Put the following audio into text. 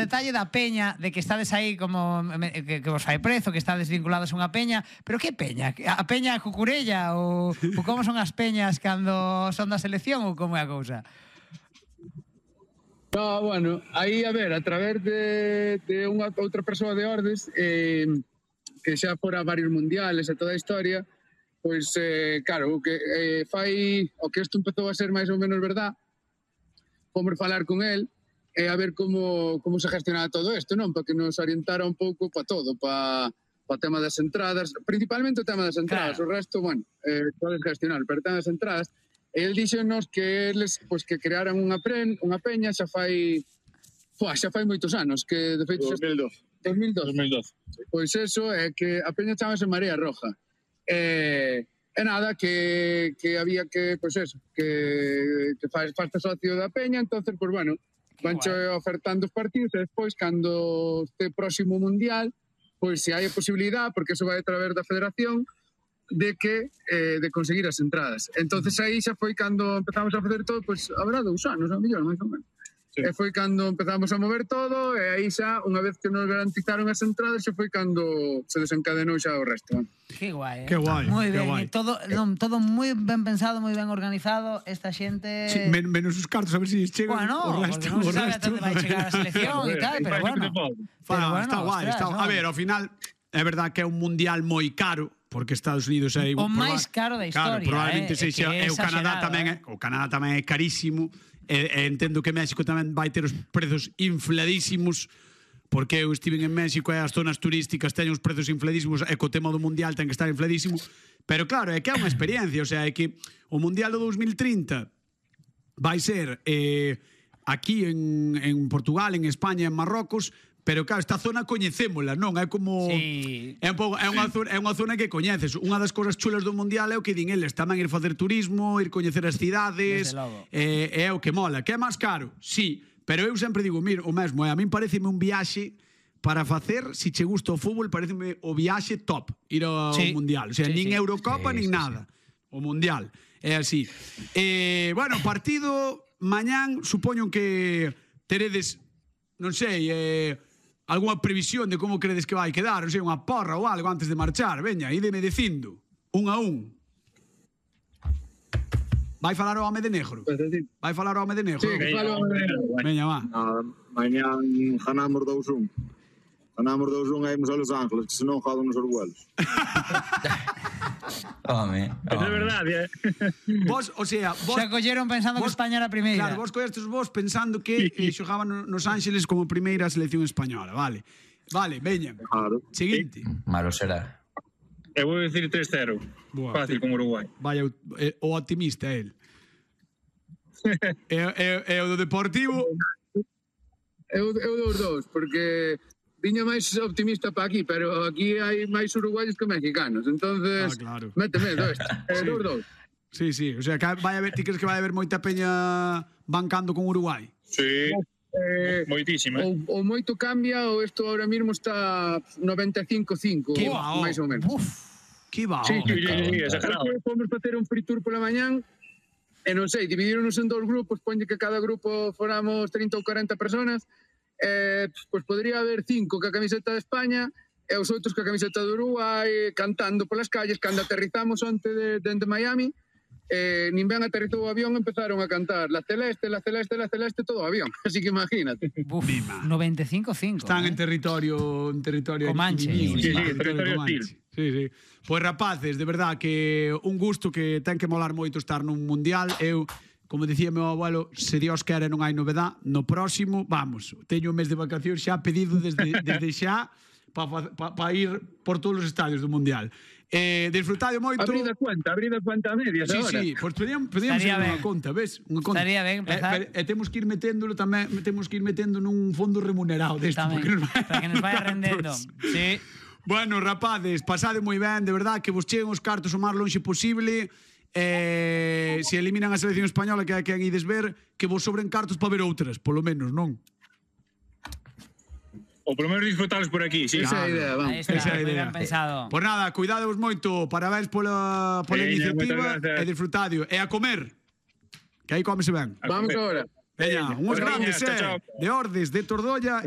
detalle da peña, de que estades aí como que vos fai prezo, que estades vinculados a unha peña, pero que peña? A peña cucurella ou como son as peñas cando son da selección ou como é a cousa? No, bueno, aí, a ver, a través de unha outra persoa de Ordes, que xa fora varios mundiales e toda a historia, pois, claro, o que fai, o que isto empezou a ser máis ou menos verdad, fomos falar con el e a ver como se gestionaba todo isto, non? Para que nos orientara un pouco para todo, para o tema das entradas, principalmente o tema das entradas, claro. O resto, bueno, podes gestionar, pero o tema das entradas. E el díxonos que eles, pois, que crearan unha peña xa fai moitos anos, que de feito 2012. Pois eso é que a peña chamase Marea Roja. E nada, que había que, pois eso, que faste socio da peña, entonces, pois bueno, vanche ofertando os partidos e despois, cando este próximo mundial, pois se hai a posibilidade, porque eso vai a través da federación, de conseguir as entradas. Entonces aí xa foi cando empezamos a facer todo, pois habrá 2 anos, a mellor, máis ou menos. Sí. E foi cando empezamos a mover todo, e aí xa, unha vez que nos garantizaron as entradas, xa foi cando se desencadenou xa o resto. Que guai, Que guai. Moi ben, guai. Todo moi ben pensado, moi ben organizado, esta xente... Sí, menos os cartos, a ver se chegan o resto. Bueno, non se sabe até onde vai chegar a selección e tal, pero bueno. Está guai, está. A ver, ao final, é verdad que é un mundial moi caro, porque Estados Unidos é o máis caro da historia, probablemente sexa, e o Canadá tamén é carísimo, e entendo que México tamén vai ter os prezos infladísimos, porque eu estive en México e as zonas turísticas teñen os prezos infladísimos e co tema do mundial ten que estar infladísimo, pero claro, é que é unha experiencia, o sea, é que o mundial do 2030 vai ser aquí en Portugal, en España, en Marrocos, pero claro, esta zona coñecémola, non? É como... Sí. É unha zona que coñeces. Unha das cousas chulas do mundial é o que din eles, tamén ir facer turismo, ir coñecer as cidades, é o que mola. Que é máis caro? Sí, pero eu sempre digo, mira, o mesmo, a min pareceme un viaxe para facer, se che gusta o fútbol, pareceme o viaxe top, ir ao mundial. O sea, nin Eurocopa, nin nada. O mundial. É así. Bueno, partido mañán, supoño que teredes, non sei, algunha previsión de como credes que vai quedar, non sei, unha porra ou algo antes de marchar. Veña, ídeme dicindo, 1-1. Vai falar o home de negro? Vai falar o home de negro? Sí, que falo o home de negro. Veña, va. Mañán ganamos 2-1. Ganamos 2-1 e imos a Los Ángeles, que senón jodan os orguelos. Home. É verdade, Vos, o sea, xa colleron pensando que España era a primeira. Claro, vos collestes pensando que xogaban nos Ángeles como primeira selección española, vale. Vale, veña. Claro. Seguinte. Malo será. Eu vou dicir 3-0. Fácil con Uruguai. Vaya, o optimista el. E o do Deportivo? Eu dos dous, porque viña máis optimista para aquí, pero aquí hai máis uruguayos que mexicanos, entonces claro. Mete medo este. Dos. Sí, o sea, que vai haber, ti crees que vai haber moita peña bancando con Uruguai? Sí. Moitísima. O moito cambia, o isto ahora mismo está 95-5, máis ou menos. Que va. Sí, exagerado. Fomos facer un free tour pola mañán, e non sei, dividironos en 2 grupos, poñe que cada grupo foramos 30 ou 40 personas, pois podría haber 5 ca camiseta de España e os outros ca camiseta de Uruguai, cantando polas calles. Cando aterrizamos onte dende Miami, nin ben aterrizou o avión, empezaron a cantar la celeste, la celeste, la celeste, todo o avión. Así que imagínate. 95-5. Están en territorio Comanche. Sí, territorio hostil. Sí. Pois rapaces, de verdad que un gusto, que ten que molar moito estar nun mundial. Eu, como dicía meu abuelo, se Dios quere non hai novedad, no próximo, vamos, teño un mes de vacacións xa pedido desde xa para ir por todos os estadios do mundial. Disfrutade moito. Abrid a cuenta a medias agora. Sí, pois podíamos ir unha conta, ves? Estaría ben empezar. E temos que ir meténdolo tamén, temos que ir metendo nun fondo remunerado deste, para que nos vaya rendendo. Sí. Bueno, rapades, pasade moi ben, de verdad, que vos cheguen os cartos o máis lonxe posible. Se eliminan a selección española, que hai ides ver, que vos sobren cartos para ver outras, polo menos, non? O polo menos disfrutalos por aquí, sí. Esa é a idea, vamos. Esa é a idea. Pensado. Pois nada, cuidadevos moito, parabéns pola iniciativa, e disfrutadio. E a comer, que aí comese ben. Vamos agora. Veña, unhos grandes, de Ordes, de Tordolla.